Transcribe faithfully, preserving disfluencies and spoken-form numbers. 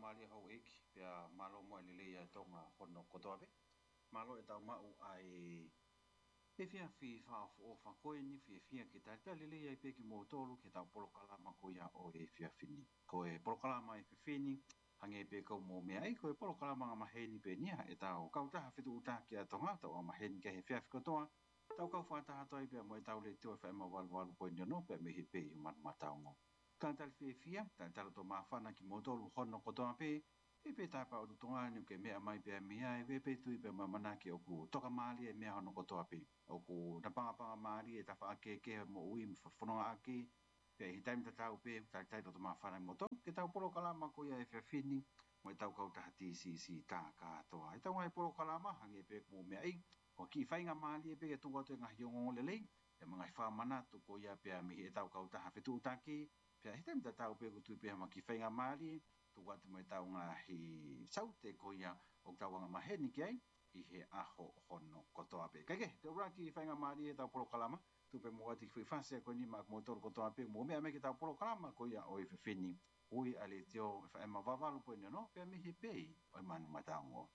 Mālie houʻeiki, pea mālō mo e lelei ʻa Tonga hono kotoa pē. Mālō ʻetau maʻu ʻa e efiafi fakaʻofoʻofa ko eni, fiefia ke talitali lelei ai pē kimoutolu ki heʻetau polokalama ko ia ʻo e efiafi ni. Ko e polokalama efiafi ni, hangē pē ko hoʻomou meaʻi, ko e polokalama angamaheni pē eni ia ʻetau kautaha fetuʻutaki ʻa Tonga, ʻoku tau angamaheni ki ai he efiafi kotoa, tau kau fakataha atu ai pea mo ʻetau letiō F M valu valu poini ono pea mei he pē ʻi Manumataongo. Talitali fiefia, talitali loto māfana kimoutolu hono kotoa pē, ʻi he pē taimi ʻoku tau ʻi ai ni, ʻoku ke meʻa mai pea mei ai, ʻi he pē tui pea mo e ʻamanaki ʻoku tokamālie e meʻa hono kotoa pē. ʻOku napangapangamālie e tafaʻaki kehekehe ʻo e moʻui mo e fonongaʻaki, pea ʻi he taimi tatau pē, talitali loto māfana kimoutolu ki heʻetau polokalama ko ia efiafi ni, mo ʻetau kautaha T C C tā kātoa. ʻEtau ngaahi polokalama, hangē pē ko hoʻomou meaʻi, ko e kiʻi faingamālie pē ke tuku atu e ngaahi ongoongolelei, pea mo e ngaahi fakamanatu ko ia pea mei heʻetau kautaha fetuʻutaki, pea ʻi he taimi tatau pē ʻoku tui pē ha kiʻi faingamālie, tuku atu mo ʻetau ngaahi saute ko ia ʻoku tau angamaheni ki ai, ʻi he ʻaho hono kotoa pē. Kae kehe, te u ʻuluaki faingamālie ʻetau polokalama, tuku pē muʻa ʻa e kiʻi fasi ko eni maʻa kimoutolu kotoa pē, mou meʻa mai ki heʻetau polokalama ko ia ʻo e efiafi ni, ui ʻa e letiō F M valu valu poini ono, pea mei he pē ʻi Manumataongo.